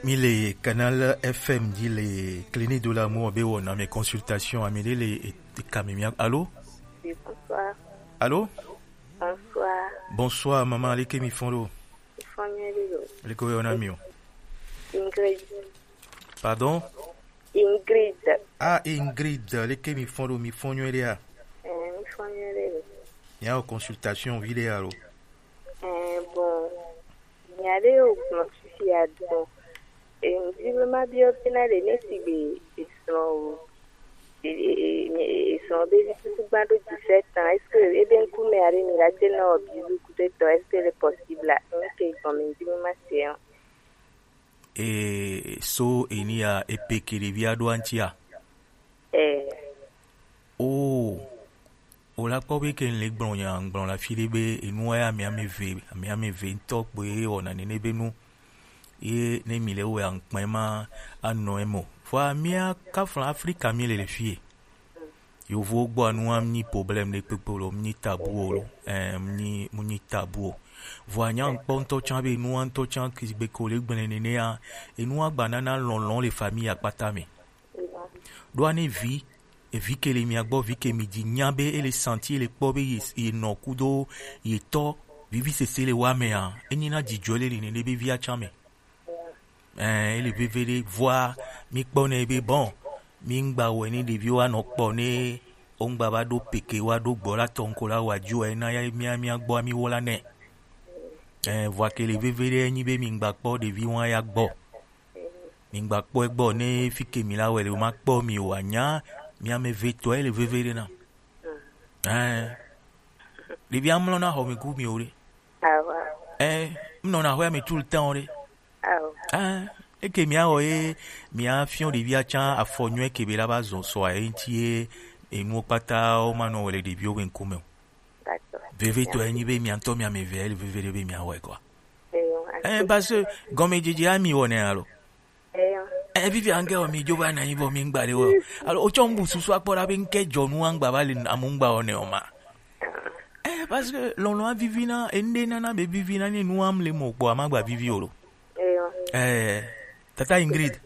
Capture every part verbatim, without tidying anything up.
Mi le Canal F M di le Clinique de l'amour be wɔna mi consultation, ami le le e, e kame mi. Allô? Oui, bonsoir. Allô? Bonsoir. Bonsoir, maman, leke mi fɔn do? Mi fɔn nyuie ɖe lo. Leke wɔna mi o? Ingrid. Pardon? Ingrid. Ah, Ingrid, leke mi fɔn do? Mi fɔn nyuie ɖe a? Eh, mi fɔn nyuie ɖe lo. Mi a consultation vi ɖe a lo? Eh, bon. Nya ɖe wo gblɔ fifia ɖo. E, ŋdi be ma biɔ bena ɖe ne sigbe esrɔ̃ o. E, e, e, e, esrɔ̃ be vi tutu gba ɖo dix-sept ans. Est-ce que ebe ŋkume aɖe mi la te na wɔ bizu kudo etɔ? Est-ce que le possible a? Ŋke gɔme ŋdi be ma se o. E, so enia epe ke ɖevia ɖo antia? Eh. Oh. O la kpɔ be ke le gblɔ nya gblɔ la fi ɖe be enu ya mi ame eve, mi ame eve ŋutɔ kpoe wɔna nene be nu. Ye ne mi le wɔ ankpɛ ma anɔ emo. Vɔa mia kafla Afrika mi le le fie. Yovo gbɔ anu am nyi problème ɖe kpekpe lo, nyi tabu o lo. Eh, nyi, nyi tabu o. Vɔa nya ŋkpɔ ŋutɔ tsã be enu ŋutɔ tsã ke gbe ko le gblẽ nene ya, enu agba nana lɔlɔ̃ le famille akpata me. Ɖoa ne vi, evi ke le mia gbɔ, vi ke mi dzi nya be ele santi, ele kpɔ be ye, ye nɔ kudo ye tɔ vivi sese le wa mea, enyi na dzidzɔ le le nene be via tsã me. Ɛɛ, ele veve ɖe vɔa mi kpɔ nɛ be bon, mi ŋgba wɛ ni ɖeviwo anɔ kpɔ ne wo ŋgba va ɖo peke wa ɖo gbɔ la tɔ ŋko la wa dzo ɛ na ya mia mia gbɔ mi wo la nɛ. Ɛɛ, vɔa ke le veve ɖe enyi be mi ŋgba kpɔ ɖevi wa ya gbɔ. Mi gba kpɔe gbɔ ne fi ke mi la wɛ le, o ma kpɔ mi o anya mi ame ve tɔ ele veve ɖe na. Ɛɛ, ɖevi amlɔ na xɔ mi ku mi o ɖe. Awa. Ɛɛ, mnɔ na xɔ mi tout le temps o ɖe. Awo. Ɛɛ, eke mi awɔ ye mi afiɔ ɖevi atsa afɔ nyuie ke be la ba zɔ sɔ aye ŋti ye enuwo kpata wo ma nɔ wɛ le ɖeviwo be ŋkume o. D'accord. Veve tɔ enyi be mi ŋtɔ mi ame ve ele veve ɖe be mi awɔe kɔ. Eyo. Eh, parce que gɔmedzedze ami wɔnɛ alo. Eyo. Eh, vivi ange o mi dzo va na anyi vɔ mi ŋgba ɖe wɔ. Alo o tsɔ ŋbu susu akpɔ ɖa be ŋke dzɔnu aŋgba va le amu ŋgba wɔnɛ o ma. Eh, parce que lɔlɔ avivi na ende nana be vivi na ni nu am le mo kpɔ amagba vivi o lo. Eyo. Eh, tata Ingrid.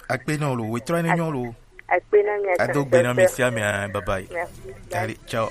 Akpe na o lo, wetrɔ ne nyɔ lo. Akpe na mi. Ado gbe na mi sia mi, ah, bye bye. Merci. Allez, ciao.